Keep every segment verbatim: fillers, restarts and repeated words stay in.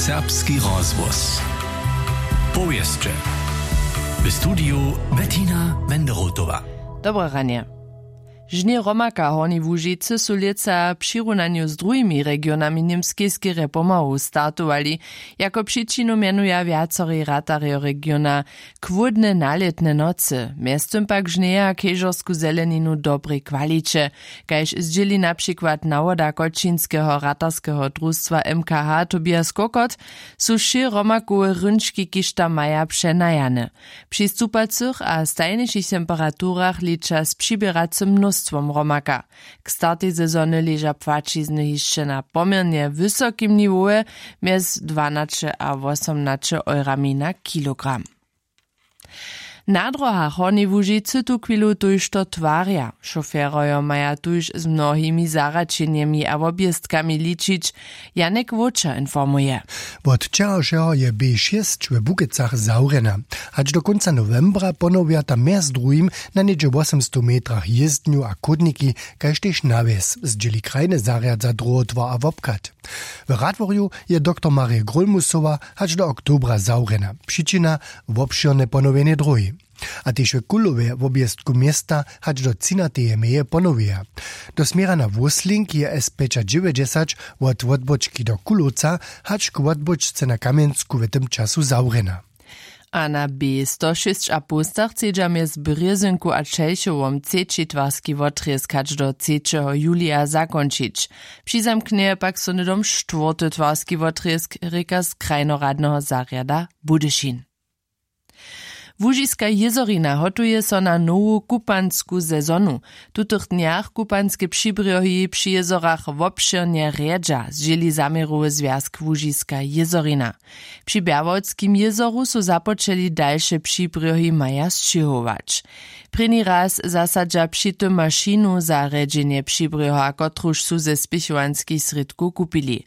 Serbski rozhłos. Powěsće. W studiju Bettina Wenderotowa. Dobre ranje. Žně hromaka Hornjej Łužicy su lětsa w přirunanju z druhimi regionami Němskej skerje pomału startowali. Jako přičinu mjenuja wjacorej ratarjo regiona chłódne nalětne nocy, mjeztym pak žnjeja kežorsku zeleninu w dobrej kwaliće. Kaž zdźěli na přikład nawoda kočinskeho ratarskeho drustwa M K H Tobias Kokot, su wšě hromakowe rynčki kiž tam maja přenajane. Při stupacych a stajnišich temperaturach liča z přiběracym mnóstwom hromaka. K startej sezony leža płaćizny hišće na poměrnje wysokim niwowje, mjez dwanaće a wosomnaće eurami na kilogram. Na dróhach Hornjej Łužicy tuchwilu tójšto twarja. Šoferojo maja tuž z mnohimi zarjaćenjemi a wobjězkami ličić. Janek Wóčer informuje. Wot wčerawšeho je B šěsć we Bukecach zawrjena. Hač do kónca nowembra ponowja tam mjez druhim na něhdźe wosomstow metrach jězdnju a chódniki, kaž tež nawjez, zdźěli krajny zarjad za dróhotwar a wobchad. W Radworju je doktor Marje Grólmusowa hač do oktobra zawrjena. Přičina: wobšěrne ponowjenje dróhi. A tež w Kulowje wobjěztku města hač do třinateje meje ponowjeja. Do směra na Wósling je S pjećadźewjećdźesać wot Wotbóčki do Kulowca hač k Wotbóčce na Kamjensku w tym času zawrjena. A na B sto šěsć a połstach chcedźa mjez Brězynku a Čelchowom třeći twarski wotrězk hač do třećeho julija zakónčić. Přizamknjeje pak so hnydom štwórty twarski wotrězk, rěka z krajnoradneho zarjada Budyšin. Łužiska jězorina hotuje so na nowu kupansku sezonu. W tutych dnjach kupanske přibrjohi při jězorach wobšěrnje rjedźa, zdźěli zaměrowy zwjazk Łužiska jězorina. Při Bjerwoldskim jězoru su započeli, dalše přibrjohi maja sćěhować. Prěni raz zasadźa při tym mašinu za rjedźenje přibrjoha, kotruž su ze spěchowanskich srědkow kupili.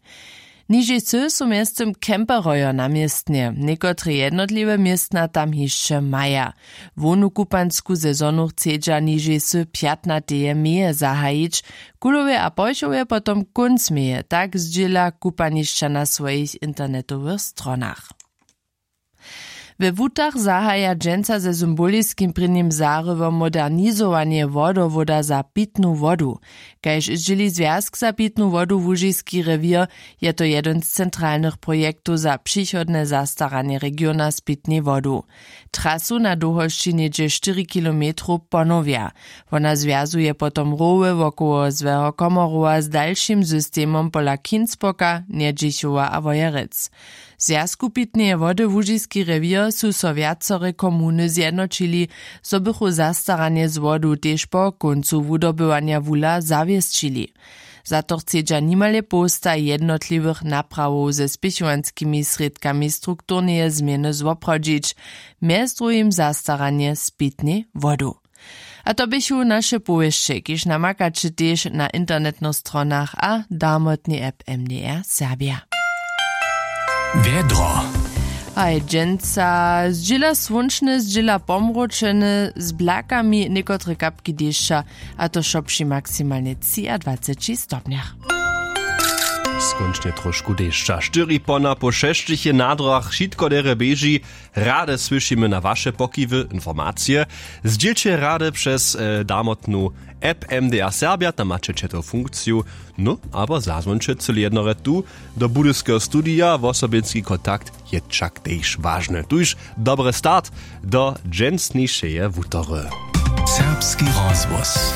Nižej sy su mjeztym camperojo na městnje, někotre jednotliwe městna tam hišće maja. Hłownu kupansku sezonu chcedźa nižej sy pjatnateje meje zahajić. W Kulowje a Porchowje potom kónc meje, tak zdźěla kupanišća na swojich internetowych stronach. We Wutach zahaja dźensa ze symboliskim prěnim zarywom modernizowanje wodowoda za pitnu wodu. Kaž zdźěli Zwjazk za pitnu wodu Łužiski rewěr, je to jedyn z centralnych projektow za přichodne zastaranje regiona z pitnej wodu. Trasu na dołhosći něhdźe štyri kilometrow ponowja. Wona zwjazuje potom rowy wokoło Złeho Komorowa z dalšim systemom pola Kinspoka, Njedźichowa a Wojerec. W Zwjazku pitneje wody Łužiski rewěr su so wjacore komuny zjednoćili, zo bychu zastaranje z wodu tež po kóncu wudobywanja wula zawěsćili. Za to chcedźa nimale połsta jednotliwych naprawow ze spěchowanskimi srědkami strukturneje změny zwoprawdźić, mjez druhim zastaranje z pitnej wodu. A to běchu naše powěsće, kiž namakaće tež na internetnych stronach a darmotnej app M D R Serbja. Wjedro. Haj, dźensa zdźěla słónčne, zdźěla pomročene, z blakami, někotre kapki dešća, a to wšo při maksimalnje třiadwaceći stopnjach. Skónčnje trošku dešća. Štyri pona po šesćich je na dróhach, wšitko derje běži. Rady słyšimy na waše pokiwy, informacije. Zdźělće rady přez, e, darmotnu app M D R Serbja, tam maće četow funkciju. No, abo zazwonće cyle jednore tu do budyskeho studija, wosobinski kontakt je wšak tež wažny. Tuž dobry start do dźensnišeje wutory. Serbski rozhłos.